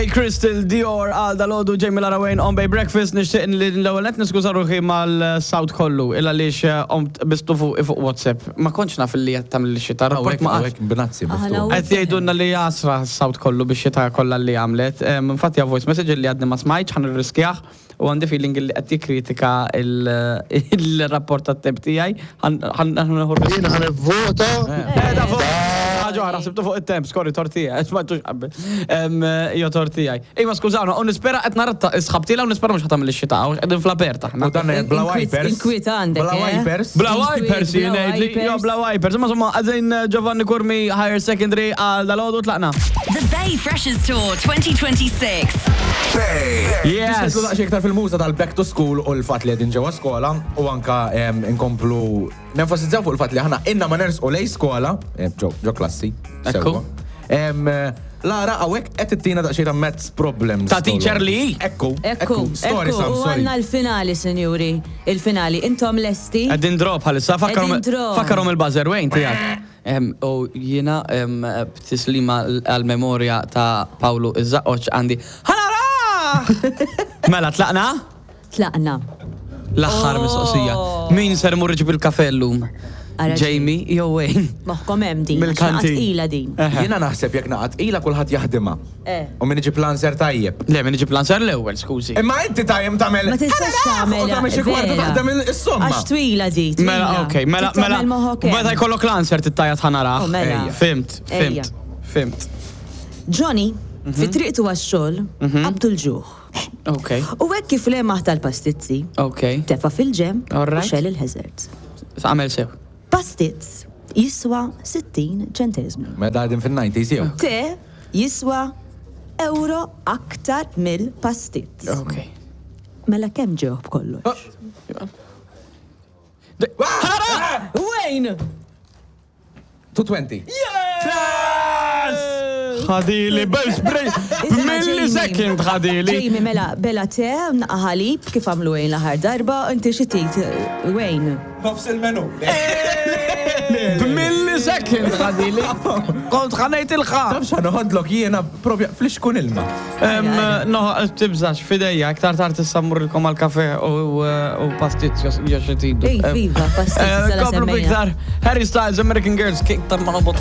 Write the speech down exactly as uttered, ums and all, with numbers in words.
Bay, Crystal, Dior, għal dalgħodu Jamie Lara Wayne on Bay Breakfast. Nixtieq li l-ewwel qed niskuża ruħi mal-South kollu illa għaliex eh, qomt bistu fuq fuq WhatsApp. Ma kontx naf li qed tagħmel xita. Rapport ma qatx. Hawnhekk b'nazzi Aħna miftuħ. u- Qed jgħidulna li jasra s-South kollu biex xita kollha li għamlet. Em, Infatti voice message li għadni ma smajtx, ħa nirriskjah u għandi feeling li qed jikkritika il- il-rapport tat-temp tiegħi. Ħa nieħu Jien ħa nivvota. Eh, da fuq. Ħaġa oħra, sibtu fuq it-temp, sorry, tortija, smajtux qabel. Em, Jo tortijaj. Iva, skużawna, u nispera qed naratta isħabtila u nispera mhux ħa tagħmel ix-xita, għax qegħdin fl-aperta. U dan bla Inkwiet- wipers. inkwiet għandek, Bla eh? wipers. Bla Inkwiet, wipers, bla jgħidli, jo wipers. bla wipers. Imma insomma, għadin Giovanni Curmi Higher Secondary għal dalgħodu tlaqna. The Bay Freshers Tour twenty twenty-six. Yes! Nislu daqsxejn iktar fil-muża tal-back to school u l-fat li qegħdin ġewwa skola u anka em, inkomplu nenfasizzaw fuq il-fat li aħna inna ma nersqu lej skola, em, ġo ġo klassi. Ekku. Sewwa. Em, Lara, hawnhekk qed ittina daqsxejn ta' maths problems. Ta' teacher li? Ekku, Ekku, Story ekku, Sam, u sorry. għandna l-finali, sinjuri. Il-finali. Intom lesti? Qegħdin draw bħalissa, fakkarhom Qegħdin draw. fakkarhom il-buzzer Wayne tiegħek. Em, U jiena em, b'tislima għal-memorja ta' Paolo Iż-Żaqqoċ għandi. Ħa nara! Mela, tlaqna? Tlaqna. L-aħħar Oh. mistoqsija. Min ser imur iġib il-kafe llum? Ara. Jamie jew Wayne? Moħkom hemm din. Mill-kantin. Tqila din. Eħe. Jiena naħseb jekk naqat ila kulħadd jaħdimha. Eh. U min iġib l-answer tajjeb. Le, min iġib l-answer l-ewwel, skużi. Imma inti tajjem tagħmel. Ma tistax tagħmel. U tagħmel xi kwarta vera. taħdem is-somma. Għax twila di. Twila. Mela, ok, mela, Trid mela, tagħmel moħħok hemm. meta jkollok l-answer tittajat ħa narah. Oh, mela. Ejja. Fhimt, fhimt, Ejja. fhimt. Johnny, Mhm. fi triqtu għax-xogħol, qabdu l-ġuħ. Ok, U hekk kif lemaħ tal-pastizzi, ok. tefa fil-ġenb All u right. xegħel il-hazards. Għamel sew. Pastizz jiswa sittin ċentesmu. Mela qegħdin fin-nineties jew. Te jiswa euro aktar mill-pastizz. Ok. Mela kemm ġew b'kollox? Ħa nara! Wayne! two twenty. Ħadili, millisecond ħadili. Jamie, mela, bela te, naqra ħalib, kif għamlu Wayne l-aħħar darba, inti xi trid, Wayne? Nofs il-menu. Millisecond ħadili. Kont ħa ngħid il-ħa. Taf x'ħa noħodlok jiena propja flixkun ilma. No, tibżax, fidejja, aktar tard issa mmurrilkom għal-kafe u u pastizz jo xi tridu. Ej, viva, pastizz, sala Komplu semmejna. iktar. Harry Styles, American Girls, iktar ma nobot.